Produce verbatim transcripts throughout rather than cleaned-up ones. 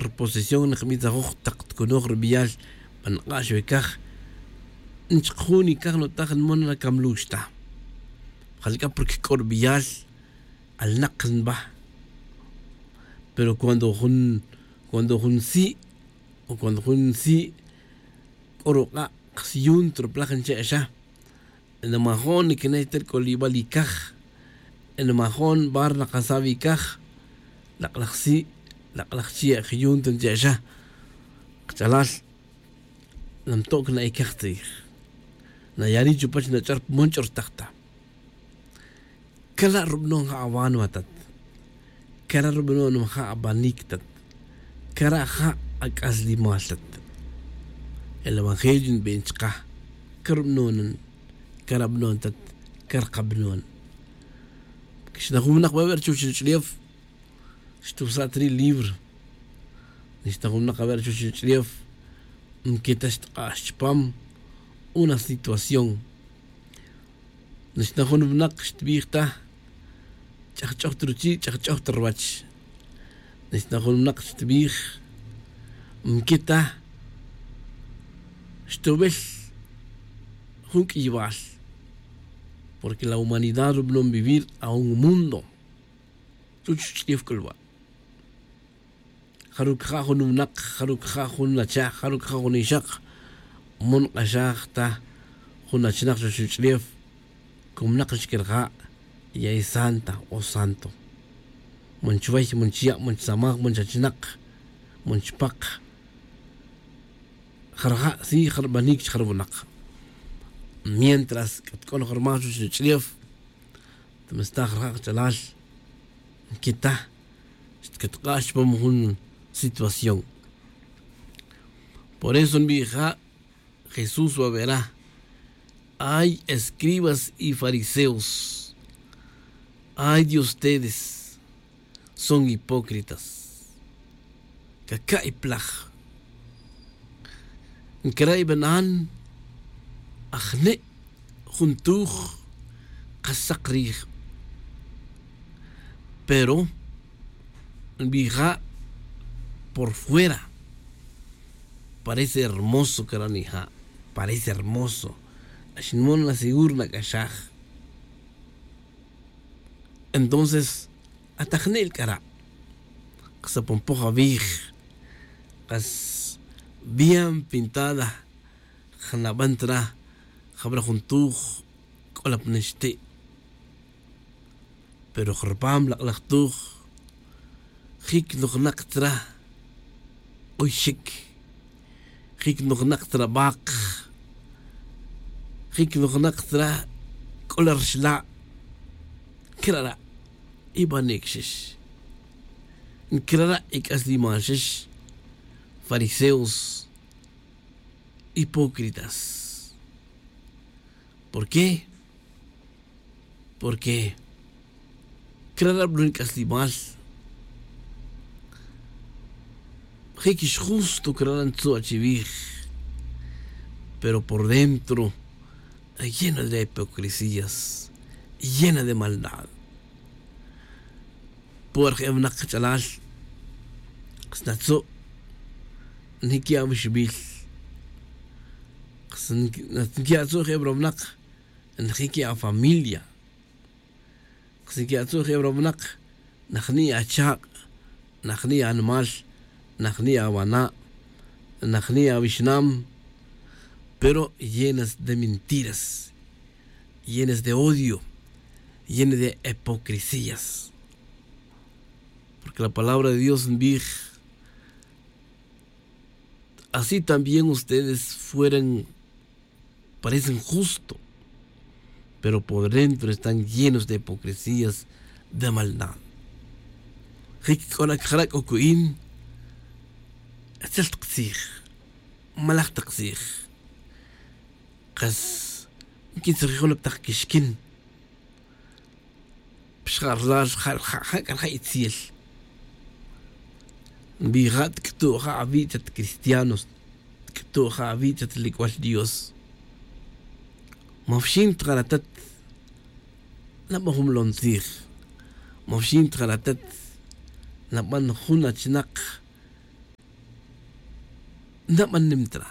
posesión nqb'itzajuj taq tkunoj rb'iyal pa nq'ax we kaj. Nchqjun ikaj nutaj nmon na kamlux ta. Jalk'a porque k'o rb'iyal alnaq nb'a. Pero cuando jun cuando jun si' o cuando jun si' k'o ruq'a' qsyun truplaj nche'xa. Nmajo'n nikney ta rk'olib'al ikaj. Nmajo'n bar naqasaw ikaj. Laq'laj si' laq'laj chi' jyun ta nche'xa. Qch'alal namto'k na ikaj tzij. Nayari' chupach nach'or pmon ch'ortaj ta. Cara' rub'anon ja' awan wa tat. Cara' rub'anon ja' abanik tat. Cara' ja' ak'aslimal tat. El evangelio nb'en chqa. Cara' rub'anon cara' b'anon tat. Cara' qab'anon. Xna jun winaq b'ab'e' chuwach ruch'ulef. Xtusa' ta ri' libro. Nixta jun winaq awer chuwach ruch'ulef. Nketa xtq'ax chupam una situación. Nixta jun winaq xtbij ta ch'ajch'oj ta ruchi' ch'ajch'oj ta ruwach. Nixta jun winaq xtbij nketa xtubel jun k'iybal. Porque la humanidad rub'anon vivir a un mundo. Chuwach ruch'ulef k'ulwa'. Jaru' caja' jun winaq, jaru' caja' jun achaj, jaru' caja' jun ixaq. Mon q'axaj ta jun achnaj chuwach ruch'ulef. Comnaq xkerja' ya es santa o santo. Mon chuway, mon chuya', mon chusamaj, mon chachnaq, mon chupaq. Jarja' si jarbanik chjarwinaq. Mientras c'at c'o noj rmaj chuwach ruch'ulef. Tame sta jarja' kach'alal. Nquita xtcatk'a' chupam jun situación. Por eso nbija' jesús wawerá. Ay escribas y fariseos. Ay de ustedes son hipócritas. Caca'y plaj. Ncara' ibanan ajne' juntuj. Kasak rij. Pero nbija' por fuera parece hermoso cara' nija'. Parece hermoso. Axinmon na seguro na k'axaj. Entonces atajne'l k'ara' kas aponpoj awij. Kas bien pintada. Jnaban tra jabra jun tuj. K'o la pnixti'. Pero jrpam lak'laj tuj. Jic nojnak tra. K'uy xic. Jic nojnak tra bak. Jic nojnak tra. K'o la rxla'. Crara' ibanik xix. Crara' ic'aslimal xix. Fariseos hipócritas. ¿Por qué? Porque crara' blo nic'aslimal. Jic ix justo crara' ntzu' achiwij. Pero por dentro llena de hipocresías, llena de maldad. Puerj e winak kach'alal. Kas natzu' njiqui' awixbil. Kas njiqui' atzu' je' wra winak. Njiqui' afamilia. Kas njiqui' atzu' je' wra winak. Najni' achaq'. Najni' animal. Najni' awana'. Najni' awixnam. Pero llenas de mentiras, llenas de odio, llenas de hipocresías. Porque la palabra de dios nbij. Así también ustedes fueran parecen justo, pero por dentro están llenos de hipocresías, de maldad. Jic c'o na cjara' c'o cu'in. Etzel tak tzij. Malaj tak tzij. Kas nquitzijij jun tak quixquin. Pixja' rlal ja' ja' ja' c'al ja' itziel. Nbija' tc'utu' ja' awi' tat cristianos. Tc'utu' ja' awi' tat lic'ual dios. Mafxin tjaratat. Naban jun molon tzij. Mafxin tjaratat. Naban jun achnak. Nabanem tra.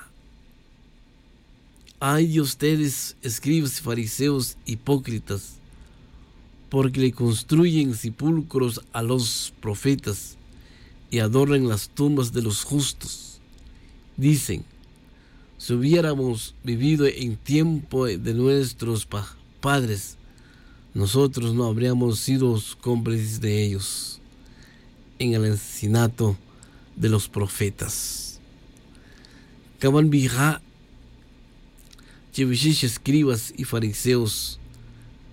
Ay de ustedes, escribas y fariseos hipócritas, porque le construyen sepulcros a los profetas y adornan las tumbas de los justos. Dicen: "Si hubiéramos vivido en tiempo de nuestros pa- padres, nosotros no habríamos sido cómplices de ellos en el asesinato de los profetas". Caban bija, che vixix escribas y fariseos,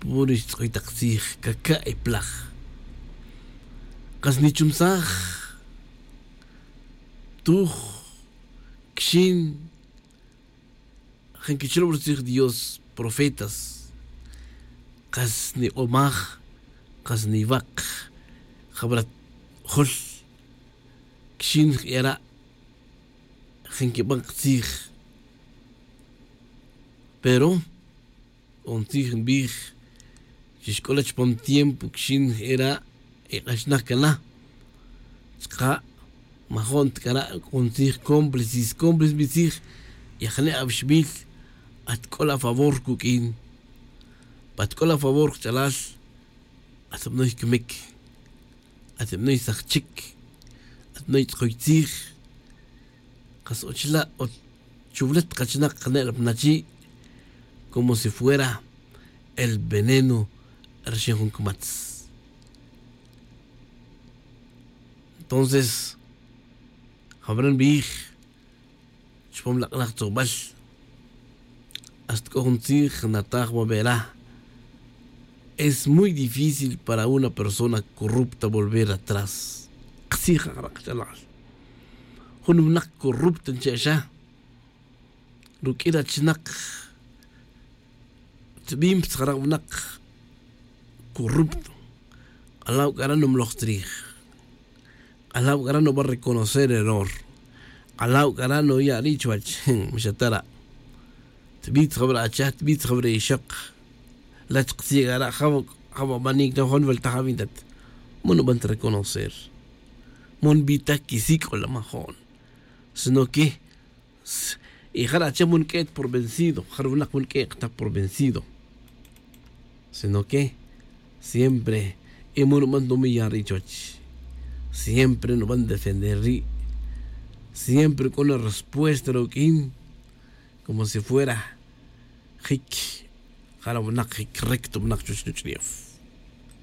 puro xtz'oy tak tzij, caca' e plaj. Kas nichumsaj tuj quixin, jan quichlob rutzij Dios profetas, kas nik'omaj, kas niwak, jabra jol quixin jera', jan quiban ktzij. Pero c'o jun tzij nbij, chi xc'ola chupam tiempo quixin jera', e k'axnaj cana. Chuka' majo'n ta c'ara', c'o jun tzij cómplices, cómplices nbij tzij, y ajane' awixbil atc'ol a favor cuq'uin. Pa atc'ol a favor kach'alal, atbanoy cmic, atbanoy sajchic, atbanoy tz'ocoy tzij. Kas ochla' o chuwlet kachinak kane' ra pnachi', como si fuera el veneno rixin jun cmatz. Entonces jabra nbij chupam lak'laj tzobal, hasta c'o jun tzij nataj wabera: "Es muy difícil para una persona corrupta volver atrás". Ktzij jara' kach'alal, jun winak corrupto nche' xa ruq'ui ra chinak, tzibin ptzjara' winak corrupto, k'alaw c'ara' numloj tzrij, k'alaw c'ara' nuban reconocer error, k'alaw c'ara' nuya' ri' chuwech. Mixatara', tbitz jabra' achaj, tbitz jabra' ixok, lach ktzij c'ara', jaba' banic ta jun weltaj awintat, man nuban ta reconocer, man nbitaj quisic'o la majo'n, sino que y jara' ache man nq'ue't por vencido, jara' winak man nq'ue't ta por vencido, sino que siempre y man nuban ta numiya' ri' chuwech, siempre nuban defender ri', siempre c'o na respuesta ruq'uin, como si fuera jic jara' winak, jic recto winak chuwech nuch'ulef.